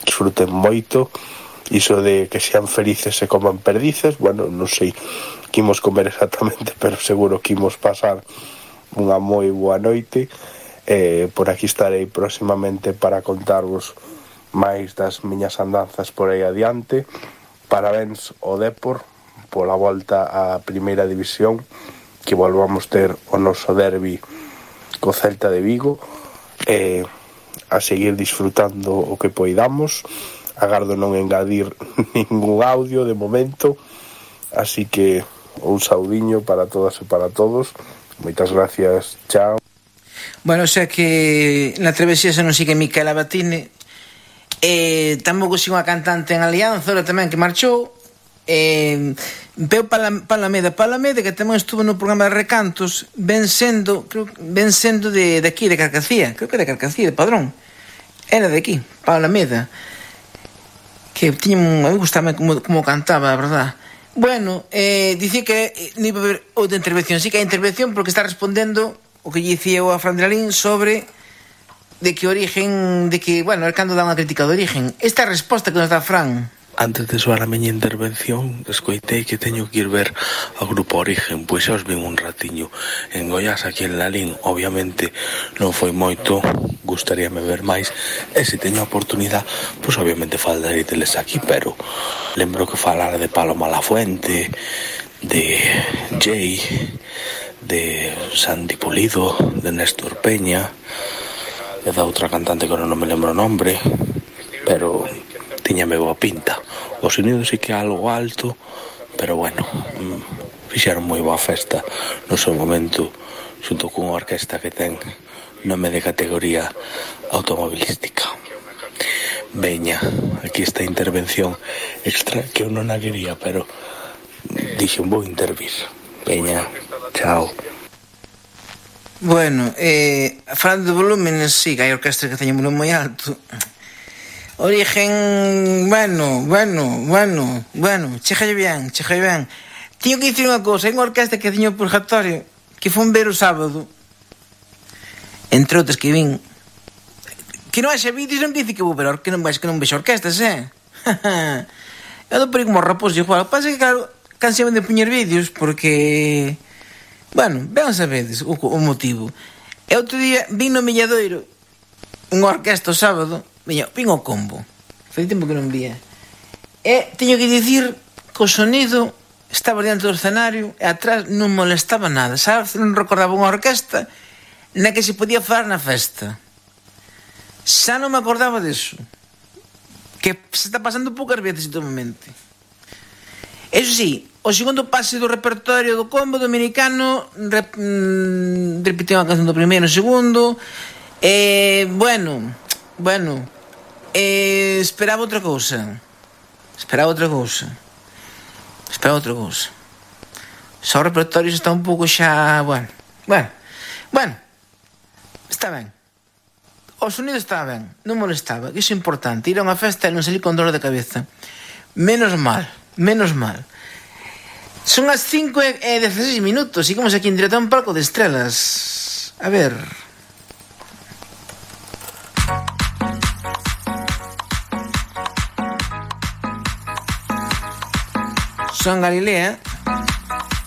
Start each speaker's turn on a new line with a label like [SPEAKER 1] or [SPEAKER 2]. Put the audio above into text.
[SPEAKER 1] disfruten moito. Iso de que sean felices e coman perdices, bueno, non sei que imos comer exactamente, pero seguro que imos pasar unha moi boa noite. Por aquí estarei próximamente para contarvos máis das miñas andanzas por aí adiante. Parabéns ao Depor pola volta á primeira división, que volvamos ter o noso derbi co Celta de Vigo, a seguir disfrutando o que poidamos. Agardo non engadir ningún audio de momento, así que un saudiño para todas e para todos. Moitas gracias, chao.
[SPEAKER 2] Bueno, o sea que na travesía non sigue Micaela Batine, tampouco sigo unha cantante en Alianza, ahora tamén que marchou, veo Palameda, que tamén estuvo no programa de Recantos, ven sendo de aquí, de Carcacía, creo que de Carcacía, de Padrón, era de aquí, Palameda, que tiña a mí gustaba como cantaba, a verdad. Bueno, dicía que non iba a haber outra intervención. Sí que hai intervención porque está respondendo o que lle dicía a Fran de Lalín sobre de que origen, de que, bueno, el cando dá unha crítica de origen. Esta resposta que nos dá Fran.
[SPEAKER 3] Antes de soar a miña intervención, escoitei que teño que ir ver ao Grupo Origen, pois xa os vin un ratiño en Goiás, aquí en Lalín. Obviamente non foi moito, gustaríame ver máis, e se teño a oportunidade, pois obviamente falarei deles aquí, pero lembro que falara de Paloma Lafuente, de Jay, de Sandy Pulido, de Néstor Peña, e da outra cantante que non me lembro o nombre, pero tiñame boa pinta. O sonido sí que é algo alto, pero bueno, fixeron moi boa festa no seu momento, xunto cunha orquesta que ten nome de categoría automobilística. Veña, aquí esta intervención extra que eu non a quería, pero dixen vou intervir. Veña, chao.
[SPEAKER 2] Bueno, falando de volúmenes, sí, que hai orquestas que teñen volumen moi alto. Origen, bueno, chejalle ben. Tiño que dicir unha cousa, hai unha orquesta que tiño o Purgatorio, que foi ver o sábado, entre outras que vin, que non haxa vídeos, non dice que vou ver, que non vexo orquestas, Eu dou por aí como raposo, igual, pasa que claro, cansame de poñer vídeos, porque, bueno, ben sabedes o motivo. E outro día vin no Milladoiro unha orquesta o sábado, vin o combo, fai tempo que non vía, e teño que dicir que o sonido estaba diante do escenario e atrás non molestaba nada, sabes? Non recordaba unha orquesta na que se podía falar na festa, xa non me acordaba disso, que se está pasando poucas veces últimamente. Eso sí, o segundo pase do repertorio do combo dominicano repeteu a canción do primeiro e segundo, bueno, esperaba outra cousa. Só o repertorio está un pouco xa, bueno, está ben. O sonido estaba ben, non molestaba, que iso é importante. Ir a unha festa e non salir con dor de cabeza. Menos mal. Son as 5:16 minutos. Seguimos aquí en directo a un palco de estrelas. A ver. Son Galilea.